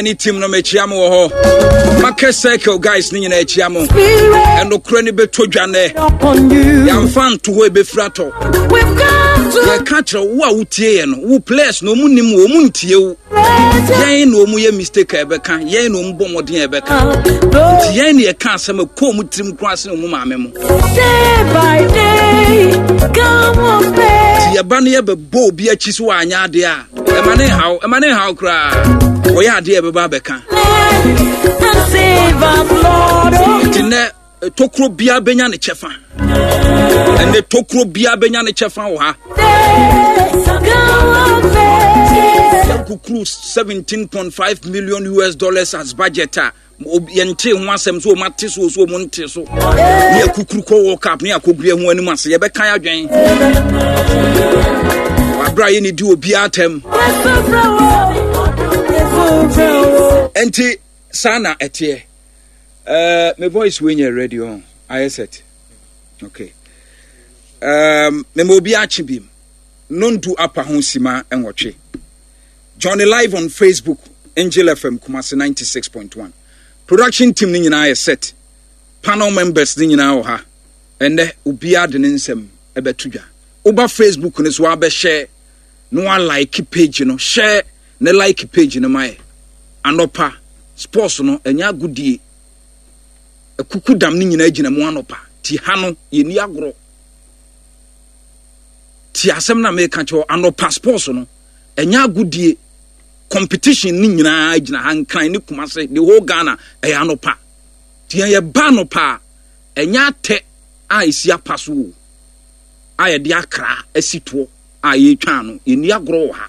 ne team no mekyia mo wɔ hɔ. Market Circle guys ne nyinaa akyia mo. Ɛnokorɛ no bɛtɔ dwa nɛ. Yɛamfa nto hɔ ɛbɛfiri atɔ. Yɛka kyerɛ wo a wotie yɛ no, wo players no ɔmu nim wo, ɔmu ntie wo. Yɛn na ɔmu yɛ mistake a ɛbɛka, yɛn na ɔmu bɔ mmɔden a ɛbɛka. Nti yɛn na yɛka asɛm ɛkɔ ɔmu tirim koraa sene ɔmu maame mo. Nti yɛba no yɛbɛbɔ obi akyi so wanyɛ adeɛ a, ɛma ne nhaw, ɛma ne nhaw koraa. Wɔyɛ adeɛ a ɛbɛba abɛka. Nti nnɛ tokuro biara bɛnya ne kyɛfa. Ɛnɛ tokuro biara bɛnya ne kyɛfa wɔ ha. Yɛnkukuru 17.5 million US dollars as budget a yɛntee ho asɛm so wɔn ate so so wɔn nte so ne akukuru kɔ world cup ne akɔguru ɛho anim ase yɛbɛka adwɛn wabra yɛ ne di obiara atɛm nti saa na ɛteɛ uh, me voice wei nyɛ ready on ayɛ set okay um, mema obi akye bi nondu apa ho sima nwɔtwe Johnny live on Facebook, Angel FM Kumasi 96.1. Production team no nyinaa yɛ set. Panel members no nyinaa wɔ ha. Ɛnnɛ, obiara de ne nsɛm ɛbɛto dwa. Woba Facebook no so abɛhyɛ na wa like page no, share ne like page no ma yɛ. Anɔpa, sports no, ɛnyɛ agodie. Akuku dam no nyinaa gyina mu anɔpa. Ti ha no, yɛnni agorɔ. Ti asɛm na meka kyerɛ anɔpa sports no, ɛnyɛ agodie competition ne nyinaa gyina ha nkran ne kumase the whole ghana ɛyɛ anɔpa nti yɛn yɛba anɔpa a ɛnyɛ atɛ a ɛsi apa so o a yɛde akra asi toɔ a yɛretwa ano yɛnni agorɔ wɔ ha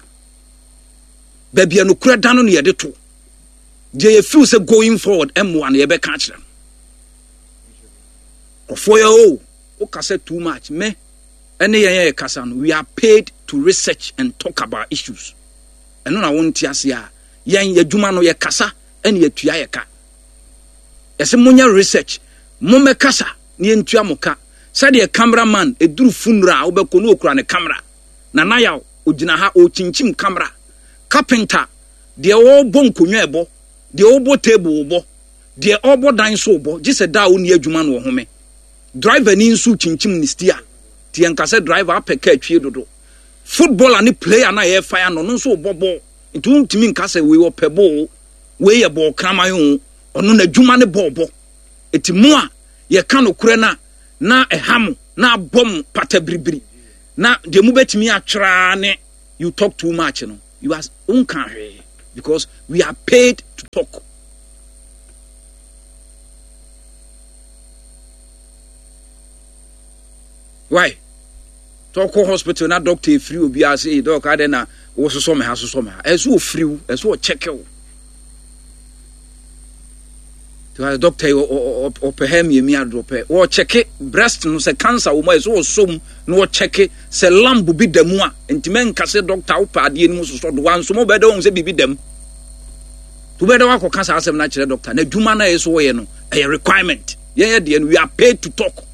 baabi a nokorɛ da no na yɛde to deɛ yɛ feel sɛ going forward ɛmmoa no yɛbɛka akyerɛ no kɔfoɔ yɛ o wokasa too much me ɛne yɛn a yɛkasa no, we are paid to research and talk about issues. Ɛno na wonte ase a, yɛn yɛdwuma no yɛkasa ɛne yɛtua yɛ ka. Yɛsɛ monyɛ research, mommɛkasa na yɛntua mo ka. Sɛdeɛ camera man ɛduru funeral a wobɛkɔ no okura ne camera. Nana Yaw ogyina ha ɔrekyinkyim camera. Carpenter deɛ ɔrebɔ nkonnwa ɛbɔ, deɛ ɔrebɔ table bɔ, deɛ ɔrebɔ dan so bɔ, gye sɛ da a ɔnni adwuma no ɔhome. Driver ni nso kyinkyim ne steer nti yɛnka sɛ driver apɛ car twie dodo. Footballer ne player no a yɛrefa ano no nso rebɔ bɔɔl nti wontumi nka sɛ wei ɔpɛ bɔɔl o, wei yɛ bɔɔl kraman o, ɔno n'adwuma ne bɔɔl bɔ. Nti mo a yɛka nokorɛ no a na ɛha mo na abɔ mo pata biribiri na deɛ mobɛtumi atwerɛ ara ne you talk too much no, you are wonka hwee because we are paid to talk. Why? Tɔ kɔ hospital na doctor efiri obi ase ee dɔk adɛ na wososɔ me ha sosɔ me ha. Ɛsɛ ofiri wo, ɛsɛ ɔkyɛkɛ wo. Tiwa doctor yi ɔpɛ ha miamia do ɔpɛ wɔkyɛke breast no sɛ cancer wɔ mu a ɛsɛ ɔsɔ mu na wɔkyɛke sɛ lamb bi da mu a ntumi nka sɛ doctor wopɛ adeɛ no mu sosɔ do wansom wobɛdɛ wɔn sɛ biribi da mu. Wobɛdɛ wakɔka saa asɛm no akyerɛ doctor na adwuma no a ɛsɛ wɔyɛ no ɛyɛ requirement. Yɛn yɛ deɛ no we are paid to talk.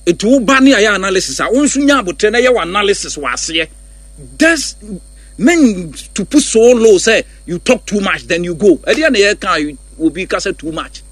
Eti wo ba ne ayɛ analysis a wo nso nya abotrɛ na yɛ wɔ analysis wɔ aseɛ. This men to put so low sɛ you talk too much then you go. Ɛdeɛ na yɛ ka obi kasa too much.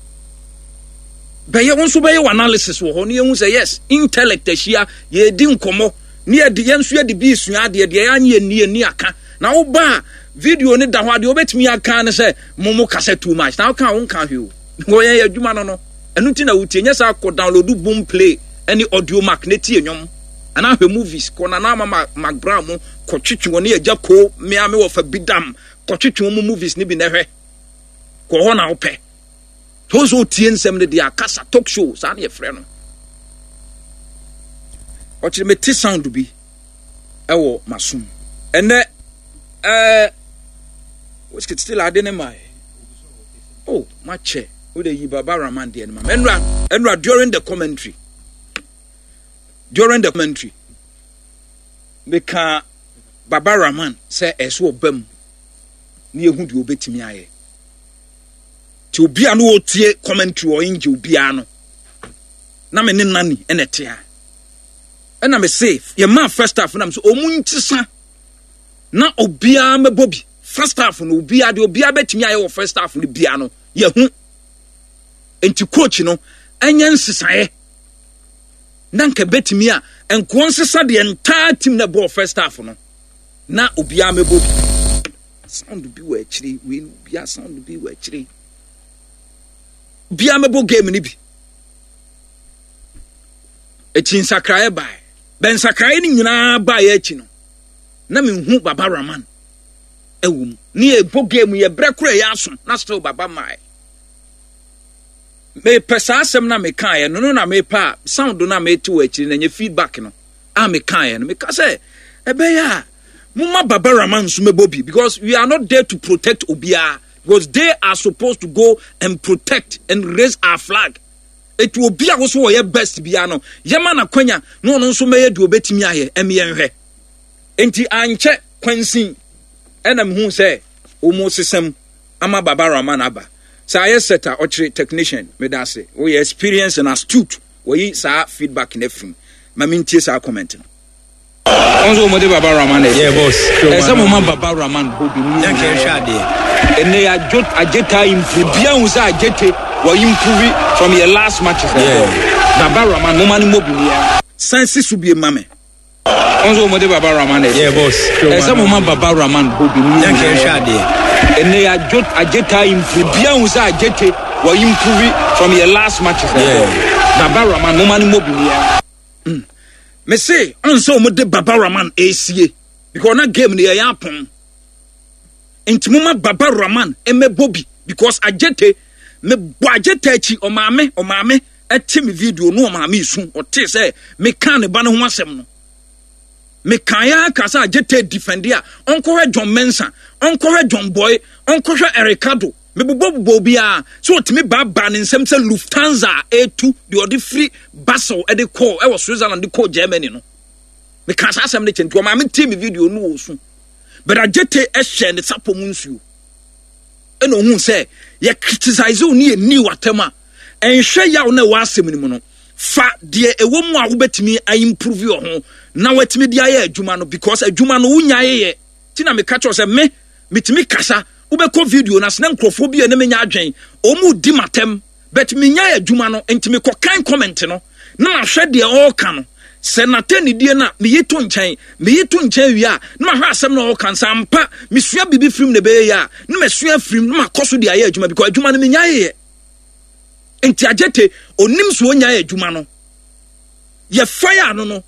Bɛyɛ wo nso bɛyɛ wɔ analysis wɔ hɔ ne yɛhu sɛ yes intellect ahyia yɛdi nkɔmmɔ ne yɛde yɛn nso yɛde bi sua adeɛ deɛ yɛanyɛ yɛnni yɛnni aka na wo ba a video ne da hɔ adeɛ wobɛtumi aka ne sɛ mo mo kasa too much na woka wo nka hwee o. Wɔyɛ yɛ adwuma no no. Ɛno nti na wotie. Nyɛ saa kɔ download boom play ɛne audio mac na tie nnwom. Anaa hwɛ movies. Kɔ Nana Ama Mac Brown mo kɔ twetwe wɔn ne Agya Koo mea me wɔfa Bidam kɔ twetwe wɔn movies no bi na hwɛ. Kɔ hɔ na wopɛ. Sɛ wo sɛ otie nsɛm no deɛ akasa talk show saa na yɛfrɛ no. Ɔkyerɛ mete sound bi ɛwɔ masom. Ɛnɛ ɛɛ still ade ne mae. Oh, makyɛ. Wo de yi Baba Rahman deɛ no ma. Ɛnura, ɛnura during the commentary. During the commentary. Meka Baba Rahman sɛ ɛso ɔba mu. Ne ehu deɛ obetumi ayɛ. Ti obi a no otie commentary wɔ angel biara no. Na me ne nani ɛna ɛte ha. Ɛna me se yɛ maa first half na me so ɔmu nkyesa na obiara mɛbɔ bi. First half no obiara deɛ obiara bɛtumi ayɛ wɔ first half no biara no yɛhu. Nti coach no ɛnyɛ nsesaeɛ na nka bɛtumi a nkoɔ nsesa deɛ ntaa team na ɛbɔɔ first half no na obiara mɛbɔ bi. Sound bi wɔ akyire wei no obiara sound bi wɔ akyire obiara mɛbɔ game no bi. Akyi nsakraeɛ baeɛ. Bɛ nsakraeɛ no nyinaa baeɛ akyi no na menhu Baba Rahman ɛwɔ mu. Ne yɛbɔ game yɛ brɛ koro ɛyɛ aso na still Baba mae. Mepɛ saa asɛm na mekaeɛ no no na mepɛ a sound no a mete wɔ akyiri na nyɛ feedback no a mekaeɛ no. Meka sɛ ɛbɛyɛ a moma Baba Rahman nso mɛbɔ bi because we are not there to protect obiara because they are supposed to go and protect and raise our flag. Eti obi a woso wɔyɛ best biara no yɛma no akwanya na ɔno nso mɛyɛ deɛ ɔbɛtumi ayɛ ɛmi yɛnhwɛ. Enti ankyɛ kwansin ɛna mehu sɛ wɔn sesam ama Baba Rahman aba. Sɛ ayɛ set a ɔkyerɛ technician meda ase woyɛ experience and astute wɔyi saa feedback no afiri mu ma mentie saa comment no. Wɔn nso wɔn de Baba Rahman ɛsɛ. Yeah boss. Ɛsɛ mo ma Baba Rahman bɔ bi mu. Yɛn kɛ hwɛ adeɛ. Ɛnɛ yɛ adwo agyeta improve. Bia hu sɛ agyete wɔ improve from yɛ last matches. Yeah. Baba Rahman mo ma no mɔ bi mu yɛ. San si so bie ma me. Wɔn nso wɔn de Baba Rahman ɛsɛ. Yeah boss. Ɛsɛ mo ma Baba Rahman bɔ bi mu. Yɛn kɛ hwɛ adeɛ. Ɛnɛ yɛ adwo agyeta improve. Bia hu sɛ agyete wɔ improve from yɛ last matches. Yeah. Baba Rahman mo ma no mɔ bi mu yɛ. Mm. Me se ɔn sɛ wɔn de Baba Rahman esie because na game no yɛyɛ apɔn nti mo ma Baba Rahman ɛmɛbɔ bi because agyete me bɔ agyete akyi ɔmaame ɔmaame ɛte me video no ɔmaame esu ɔte sɛ me kan ne ba no ho asɛm no me kan ya ka sɛ agyete defend a ɔnkɔhwɛ John Mensah ɔnkɔhwɛ John Boy ɔnkɔhwɛ Ericado Mebobɔbobɔ obiara sɛ ɔtumi baabaa ne nsam sɛ Lufthansa a ɛretu deɛ ɔde firi Basel de kɔɔ ɛwɔ Switzerland de kɔɔ Germany no. Mekaa saa asɛm no kyɛ nti ɔmaa tie me video no wɔ su. But Agyete hyɛɛ ne sapɔ mu nsuo. Ɛna ohun sɛ yɛ criticize wo ne yɛ ni w'atɛm a ɛnhwɛ yaw na ɛwɔ asɛm no mu no. Fa deɛ ɛwɔ mu a wobɛtumi a improve wɔ ho na watumi de ayɛ adwuma no because adwuma no wonyaeɛ yɛ. Ti na meka kyerɛ sɛ me metumi kasa wobɛkɔ video no ase na nkurɔfoɔ bi a ɛne me nya adwen wɔn di m'atɛm but menyae adwuma no nti mekɔkan comment no na mahwɛ deɛ ɔreka no sɛ n'atɛnidie no a meyi to nkyɛn meyi to nkyɛn wie a na mahwɛ asɛm na ɔreka no sɛ ampa mesua biribi firim na ɛbɛyɛ yie a na masua firim na makɔ so de ayɛ adwuma because adwuma no menyaeɛ nti agyete onim so ɔnyae adwuma no yɛfae ano no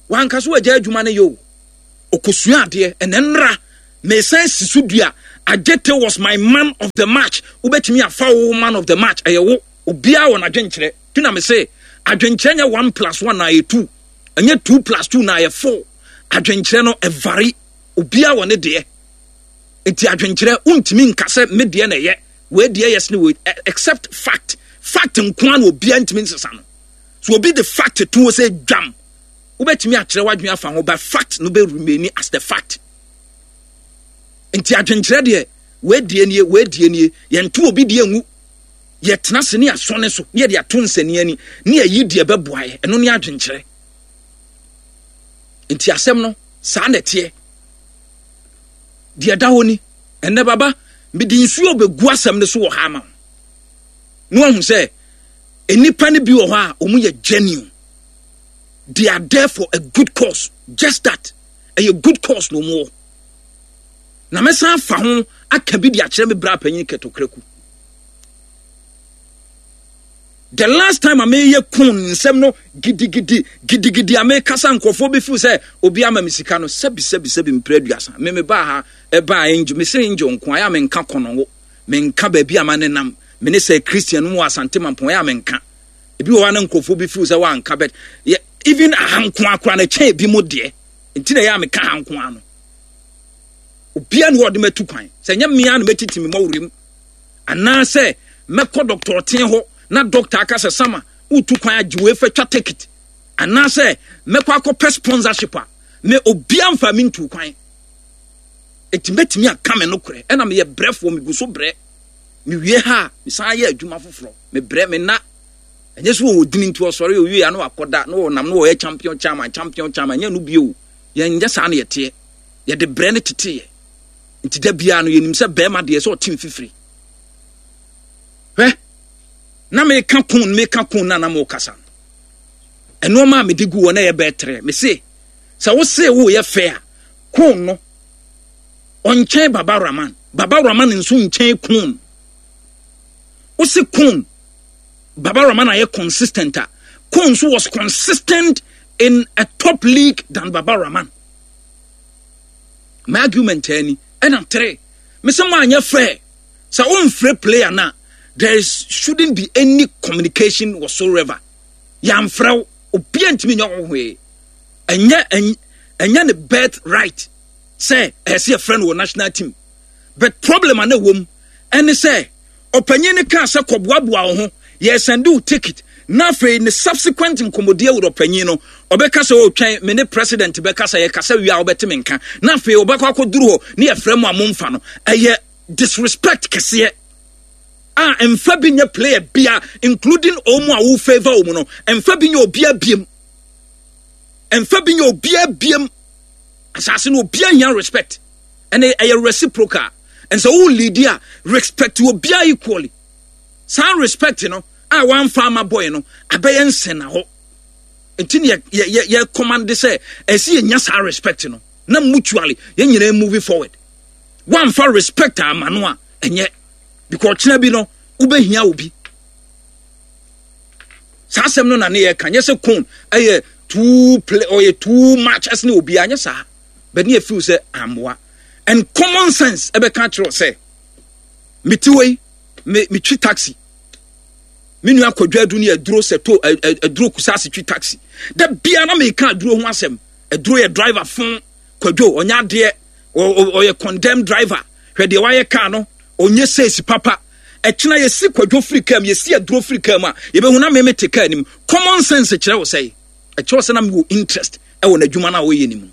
wanka so wagya adwuma no yɛ o ɔkɔsua adeɛ ɛnɛ nnora Mesan si so dua, Adjetey was my man of the match. Wobɛtumi afa wo man of the match, ɛyɛ wo. Obiara wɔ n'adwenkyerɛ. Ti na mese, adwenkyerɛ nyɛ one plus one na ayɛ two. Ɛnyɛ two plus two na ayɛ four. Adwenkyerɛ no, ɛvari. Obiara wɔ ne deɛ. Nti adwenkyerɛ, wontumi nka sɛ me deɛ na ɛyɛ, wei deɛ yɛ sene wei, except fact. Fact nko ara na obiara ntumi nsesa no. So obi de fact to hɔ sɛ dwam, wobɛtumi akyerɛ w'adwene afa ho, but fact no bɛ remain as the fact. Nti adwenkyerɛ deɛ, wei deɛ nie, wei deɛ nie, yɛnto obi deɛ ngu. Yɛtena ase ne yɛasɔ ne so, ne yɛde ato nsania ani, ne yɛyi deɛ ɛbɛboa yɛ. Ɛno ne adwenkyerɛ. Nti asɛm no, saa na ɛteɛ. Deɛ ɛda hɔ ni, ɛnnɛ baba, mede nsuo bɛgu asɛm no so wɔ ha ama wo. Na wahu sɛ, nnipa no bi wɔ hɔ a, wɔn yɛ genuine. They are there for a good cause. Just that. Ɛyɛ good cause na wɔn wɔ. Na mɛsan afa ho aka bi de akyerɛ me bra panyin kɛtɔkraku. The last time a meyɛ kun nsɛm no gidigidi gidigidi a mekasa nkurɔfoɔ bi feel sɛ obi ama me sika no sɛbi sɛbi sɛbi mpere aduasa me me baa ha ɛbaa angel me sɛ angel nko ayɛ a menka kɔnɔngo menka baabi a ma nenam me ne sɛ Christian mu wɔ Asante Mampɔn ayɛ a menka ebi wɔ hɔ a na nkurɔfoɔ bi feel sɛ wanka but yɛ even aha nko akora na ɛkyɛn ebi mo deɛ nti na ɛyɛ a meka ha nko ano obia ne ɔde matu kwan sɛ nyɛ mmea na mɛtiti me mɔwerɛ mu anaasɛ mɛkɔ dɔkta ɔten hɔ na dɔkta aka sɛ sama wotu kwan agye wei fa twa ticket anaasɛ mɛkɔ akɔpɛ sponsorship a me obia mfa me ntu kwan ɛti mɛtumi aka me nokorɛ ɛna meyɛ brɛfoɔ megu so brɛ mewie ha a mesan yɛ adwuma foforɔ mebrɛ me na ɛnyɛ sɛ wɔwɔ dini nti ɔsɔre owie a na wakɔda na wɔnam na wɔyɛ champion chairman champion chairman nyɛ no bio yɛnyɛ saa na yɛteɛ yɛde brɛ no teteeɛ. Nti da biara no yɛnim sɛ bɛrima deɛ sɛ ɔte mfifiri. Hwɛ, na meka kun meka kun na na mokasa no. Nneɛma a mede gu hɔ na ɛyɛ bɛɛ trɛ. Mese, sɛ wo se woyɛ fɛ a, kun no ɔnkyɛn Baba Rahman. Baba Rahman nso nkyɛn kun. Wo se kun Baba Rahman ayɛ consistent a, kun nso was consistent in a top league than Baba Rahman. My argument ani ɛna tere. Mese mo anyɛ fair. Sɛ womfrɛ player no a, there is, shouldn't be any communication whatsoever. Yɛamfrɛ wo, obiara ntumi nyɛ wo hwee. Ɛnyɛ ɛnyɛ ne birth right sɛ ɛyɛ sɛ yɛfrɛ no wɔ national team. But problem a na ɛwɔ mu ɛne sɛ ɔpanyin no kaa sɛ kɔboaboa wo ho, yɛresɛnde wo ticket, na afei ne subsequent nkɔmmɔdie with ɔpanyin no, ɔbɛka sɛ oh twɛn me ne president bɛkasa, yɛkasa wie a wobɛte me nka, na afei ɔbɛkɔ akɔduru hɔ ne yɛfrɛ mo a momfa no. Ɛyɛ disrespect kɛseɛ a mfa bi nyɛ player bia including wɔn a wo favour wɔn no, mfa bi nyɛ obia biem, mfa bi nyɛ obia biem. Asase no obia hia respect, ɛnɛ ɛyɛ reciprocal. And sɛ wo lead a, respect obiara equally. Saa respect no a wamfa ama boy no abɛyɛ nsɛnahɔ. Nti ne yɛ yɛ yɛ command sɛ ɛsɛ yɛnya saa respect no na mutually yɛn nyinaa move forward. Wamfa respect ama no a ɛnyɛ because ɔkyena bi no wobɛhia obi. Saa asɛm no na ne yɛka nyɛ sɛ kon ɛyɛ too play ɔyɛ too much ɛsene obiara nyɛ saa. But ne yɛ feel sɛ amboa. And common sense ɛbɛka akyerɛ sɛ mete hɔ yi me metwi taxi me nua kwadwo adu ne aduro sɛ to aduro kusase twi taxi da bia na meka aduro ho asɛm aduro yɛ driver fon kwadwo ɔnyɛ adeɛ ɔyɛ condemn driver hwɛ deɛ wayɛ kaa no ɔnyɛ sales papa ɛkyena yɛsi kwadwo firi kaa mu yɛsi aduro firi kaa mu a yɛbɛhu na meme te kaa nim common sense kyerɛ wo sɛ ɛkyerɛ sɛ na mewɔ interest ɛwɔ n'adwuma no a ɔyɛ no mu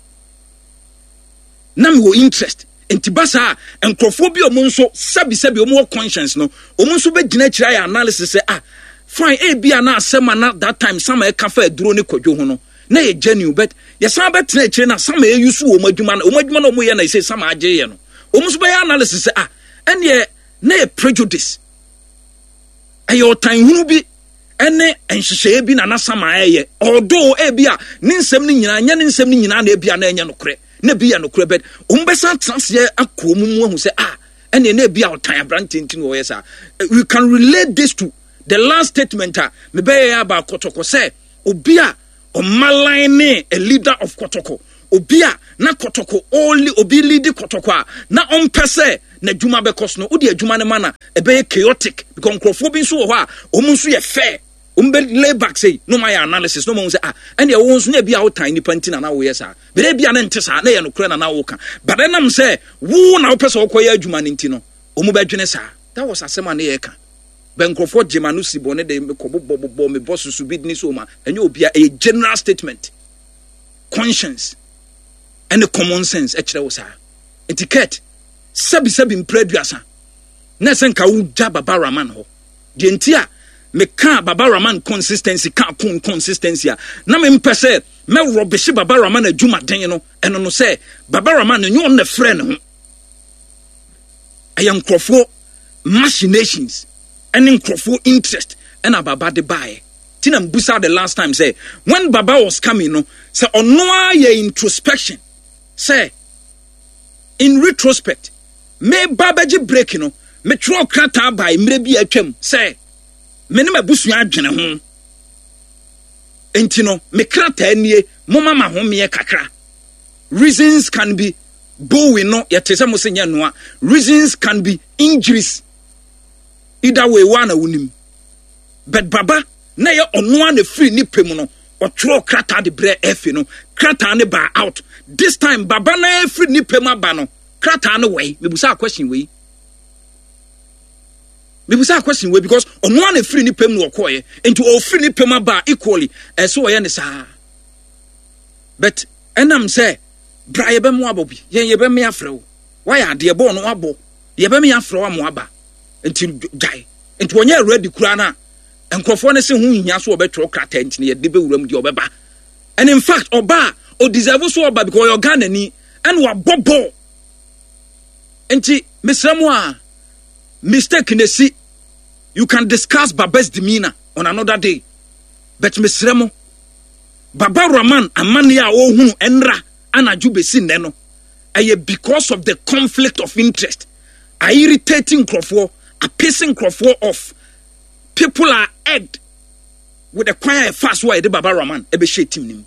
na mewɔ interest nti ba saa nkurɔfoɔ bi a wɔn nso sɛbisɛbi wɔn wɔ conscience no wɔn nso bɛgyina akyire ayɛ analysis sɛ ah fine ebi a na asɛm a na that time sama ɛka fa aduro ne kwadwo ho no na yɛ genuine but yɛsan bɛtena akyire na sama ɛyi so wɔn adwuma no wɔn adwuma no wɔn yɛ na ɛsɛ sama agye yɛ no wɔn nso bɛyɛ analysis sɛ ah ɛneɛ na yɛ prejudice ɛyɛ ɔtan hunu bi ɛne nhyehyɛeɛ bi na na sama ɛyɛ although ebi a ne nsɛm no nyinaa nyɛ ne nsɛm no nyinaa na ebi a na ɛnyɛ nokorɛ na ebi yɛ nokorɛ bɛt wɔn bɛsan tena aseɛ akɔ wɔn mu ahu sɛ ah ɛne na ebi a ɔtan aberanteɛ nti na ɔyɛ saa. We can relate this to the last statement a mebɛyɛ yɛ aba kɔtɔkɔ sɛ obi a ɔmalan ne a leader of kɔtɔkɔ obi a na kɔtɔkɔ ɔli obi lead kɔtɔkɔ a na ɔmpɛ sɛ n'adwuma bɛkɔ so no wode adwuma no ma na ɛbɛyɛ chaotic because nkurɔfoɔ bi nso wɔ hɔ a wɔn nso yɛ fair wɔn bɛ lay back sei na wɔn ayɛ analysis na wɔn ahu sɛ ah ɛnna ɛwɔ nso na ebi a wotan nipa nti na na woyɛ saa bɛrɛ ebi a na nte saa na ɛyɛ nokorɛ na na woka but ɛnam sɛ wo na wopɛ sɛ wokɔyɛ adwuma no nti no wɔn bɛdwene saa. That was asɛm a ne yɛ ka bɛ nkurɔfoɔ gye ma no si bɔne de mekɔ bobɔ bobɔ mebɔ susu bi ne so ma ɛnyɛ obia ɛyɛ general statement conscience ɛne common sense ɛkyerɛ wo saa nti Kurt sɛbi sɛbi mpere aduasa na ɛsɛ nka wogya Baba Rahman hɔ deɛ nti a meka Baba Rahman consistency ka kun consistency a na mempɛ sɛ mɛrɔbehye Baba Rahman adwumaden no ɛno no sɛ Baba Rahman no nyɛ ɔno na ɛfrɛ ne ho ɛyɛ nkurɔfoɔ machinations ɛne nkurɔfoɔ interest ɛna Baba de baeɛ ti na mbusa the last time sɛ when Baba was coming no sɛ ɔno ara yɛ introspection sɛ in retrospect meba bɛgye break no metwerɛ krataa bae mmerɛ bi a atwam sɛ me ne m'abusua adwene ho nti no me krataa nie moma ma homeɛ kakra reasons can be bowing no yɛte sɛ mo se nyɛ noa reasons can be injuries either way wa na wonim but Baba na yɛ ɔno a na firi ne pɛ mu no ɔtwerɛ krataa de brɛ ɛfe no krataa ne baa out this time Baba na ɛfiri ne pɛ mu aba no krataa no wɛi mebusa question wei mebusa question wei because ɔno a na firi ne pɛ mu na ɔkɔɔyɛ nti ɔfiri ne pɛ mu aba equally ɛsɛ ɔyɛ ne saa but ɛnam sɛ bra yɛbɛmo abɔ bi yɛn yɛbɛme afrɛ wo wayɛ adeɛ bɔɔl no wabɔ yɛbɛme afrɛ wo amo aba nti gyae nti wɔnyɛ ready koraa no a nkurɔfoɔ no se ho nhia so wɔbɛtwerɛ krataa nti no yɛde bɛwura mu deɛ ɔbɛba and in fact ɔba a ɔdeserve so ɔba because ɔyɛ Ɔghanani ɛna wabɔ bɔɔl. Nti mesrɛ mo a mistake na esi you can discuss Baba's demeanor on another day but mesrɛ mo Baba Rahman amanneɛ a ɔrehunu ɛnra anadwo bɛsi nnɛ no ɛyɛ because of the conflict of interest a irritate nkurɔfoɔ apese nkurɔfoɔ off people are irked with the kwan a ɛfa so a yɛde Baba Rahman ɛbɛhyɛ team no mu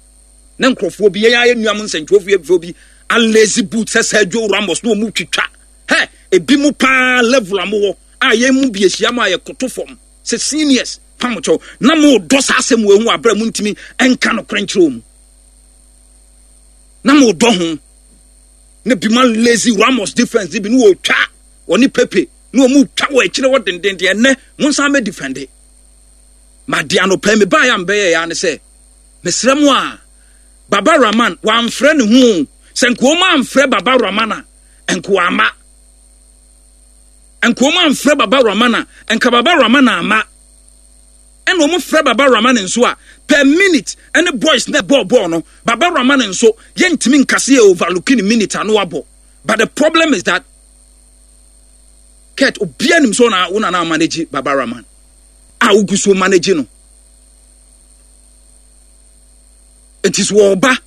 na nkurɔfoɔ bi yɛn ayɛ nnuam nsɛntwerɛfoɔ bi alazy boot sɛ Sergio Ramos na wɔn twitwa hɛ ebi mu paa level a mowɔ a yɛn mu bi ahyia mu a yɛkoto fam sɛ seniors pam kyɛw na mo dɔ saa asɛm wɔ ehu abere mu ntumi nka no korɛ nkyerɛ wɔn na mo dɔ ho na bi ma lazy Ramos defense bi na wɔtwa wɔne Pepe na wɔn twa wɔ akyire hɔ dendenden ɛnɛ mo nsan bɛ defende ma de anɔpɛ mi baa yɛ a mbɛyɛ ya ne sɛ mesrɛ mo a Baba Rahman wamfrɛ ne ho sɛ nka wɔn amfrɛ Baba Rahman a nka wama nka wɔn amfrɛ Baba Rahman a nka Baba Rahman ama ɛna wɔn frɛ Baba Rahman nso a per minute ɛne boys na ɛbɔɔ bɔɔl no Baba Rahman nso yɛntumi nkase yɛ overlooking minute ano abɔ but the problem is that Kurt obiara nim sɛ ɔna wo na manage Baba Rahman a wogu so manage no nti so wɔba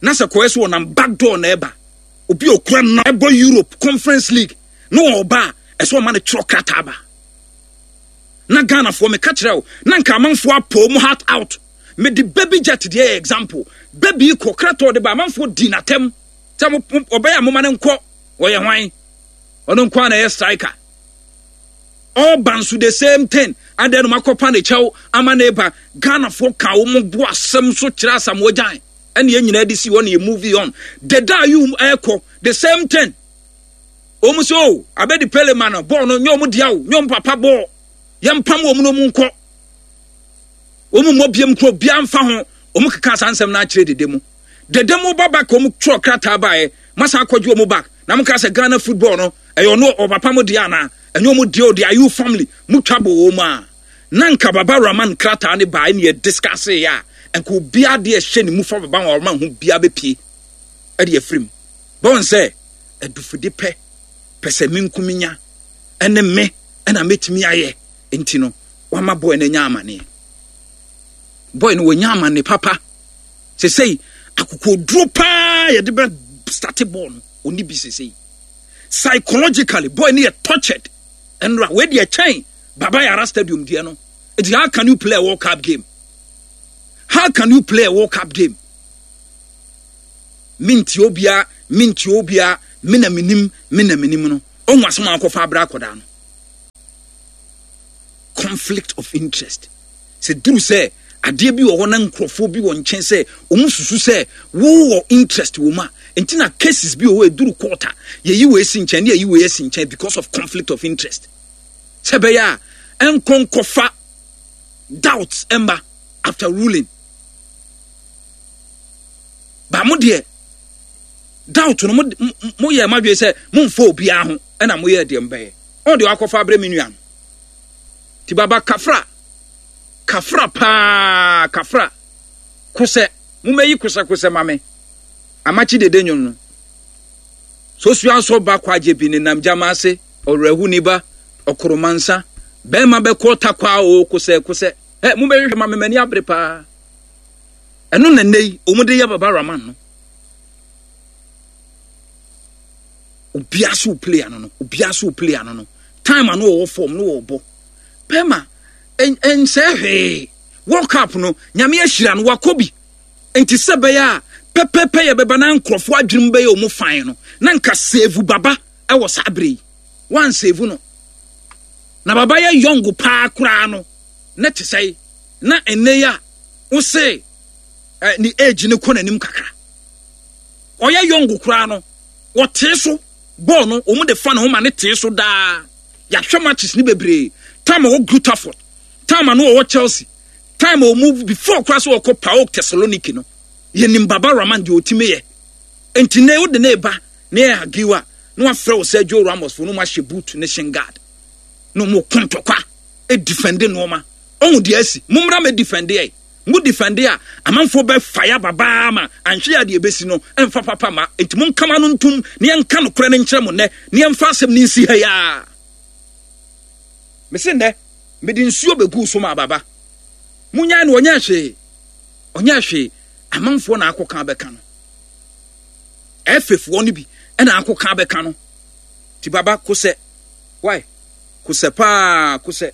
na sɛ kɔɛ so wɔnam back door na ɛba obi okura na ɛbɔ Europe Conference League na wɔba a ɛsɛ ɔma no twerɛ krataa ba na Ghanafoɔ meka kyerɛ wo na nka amanfoɔ apɔ mu heart out mede baby jet deɛ yɛ example baby kɔ krataa ɔde ba amanfoɔ di n'atɛm sɛ ɔbɛyɛ a moma no nkɔ ɔyɛ hwan ɔno nko a na ɛyɛ striker ɔba nso the same thing adɛn no makɔpa ne kyɛw ama ne ba Ghanafoɔ ka wɔn bo asɛm so kyerɛ Asamoah Gyan ɛne yɛn nyinaa de si hɔ na yɛ movie on deda ayi ɛkɔ the same thing wɔn so o abɛdi pele ma no bɔɔl no nyɛ wɔn dea o nyɛ wɔn papa bɔɔl yɛn pam wɔn na wɔn nkɔ wɔn mmɔ biem kuro bia nfa ho wɔn keka saa nsɛm no akyerɛ dede mu dede mu ba back wɔn twerɛ krataa baeɛ masa akɔgye wɔn back na mo ka sɛ Ghana football no ɛyɛ ɔno ɔpapa mo dea anaa ɛnyɛ wɔn dea o de ayew family mo twa bɔ wɔn a na nka Baba Rahman krataa ne baeɛ ne yɛ discuss yɛ a nka obiara deɛ ɛhyɛ ne mu fa Baba Rahman ho biara bɛpie ɛde afiri mu bɔn sɛ adufode pɛ pɛ sɛ me nko menya ɛne me ɛna mɛtumi ayɛ nti no wama boy no anya amaneɛ boy no wɔnya amane papa sesei akokoduro paa yɛde bɛ starte bɔɔl no ɔni bi sesei psychologically boy no yɛ tortured ɛnora wei deɛ kyɛn Baba Yara stadium deɛ no nti how can you play a World Cup game how can you play a World Cup game mentie obia mentie obia me na menim me na menim no ɔhu asɛm a akɔfa abrɛ akɔdaa no conflict of interest sɛ duru sɛ adeɛ bi wɔ hɔ na nkurɔfoɔ bi wɔ nkyɛn sɛ wɔn susu sɛ wowɔ interest wɔ mu a nti na cases bi wɔ hɔ eduru court a yɛyi wɔ esi nkyɛn ne yɛyi wɔ esi nkyɛn because of conflict of interest sɛ ɛbɛyɛ a ɛnkɔ nkɔfa doubts ɛmba after ruling ba mo deɛ doubt no mo mo yɛ mo adwene sɛ mo nfa obiara ho ɛna mo yɛ deɛ mbɛyɛ ɔn deɛ wakɔfa abrɛ me nua no ti baba kafra kafra paa kafra kosɛ mo mɛyi kosɛ kosɛ ma me amakye dede nwom no sosua nso ba kwagye bi ne nam gyama ase ɔwerɛho ni ba ɔkoromansa bɛrima bɛkɔ takwa o kosɛ kosɛ ɛ mo bɛhwehwɛ ma me m'ani abere paa ɛno na nnɛ yi wɔn de yɛ baba rahman no obiara so play ano no obiara so play ano no time ano wɔwɔ fam no wɔbɔ pɛma ɛnsɛ hwee world cup no nyame ahyira no wakɔ bi nti sɛ bɛyɛ a pɛpɛpɛ yɛ bɛba na nkurɔfoɔ adwene mu bɛyɛ wɔn fan no na nka save baba ɛwɔ saa bere yi wan save no na baba yɛ yɔngo paa koraa no na te sɛ na ɛnɛ yi a wose eh, ne age no kɔ n'anim kakra ɔyɛ yɔngo koraa no wɔtee so bɔɔl no wɔn de fa ne ho ma ne tee so daa yɛahwɛ matches ne bebree time ɔwɔ Greuther time ano ɔwɔ Chelsea time ɔmu before koraa sɛ ɔkɔ PAOK Thessaloniki no yɛnim Baba Rahman deɛ ɔtumi yɛ nti ne wode ne ba ne yɛ agiwa na wafrɛ wo Sergio Ramos fo no mu ahyɛ boot ne shin guard na ɔmo ko ntɔkwa edifɛnde nneɛma ɔho deɛ asi mommra mɛ difɛnde ɛ. Mo defende a, amanfoɔ bɛ fire babaa ma anhwɛ a deɛ ɛbɛsi no ɛmfa papa ma. Enti monka mo ano ntom na yɛnka nokorɛ no nkyerɛ mo nnɛ na yɛmfa asɛm no nsi ha yi ara. Mese nnɛ, mede nsuo bɛguu so maa baba. Monyae no, ɔnyɛɛ hwee. Ɔnyɛɛ hwee. Amanfoɔ na akɔka abɛka no. Ɛfefoɔ no bi na akɔka abɛka no. Ti baba kosɛ. Why? Kosɛ paa, kosɛ.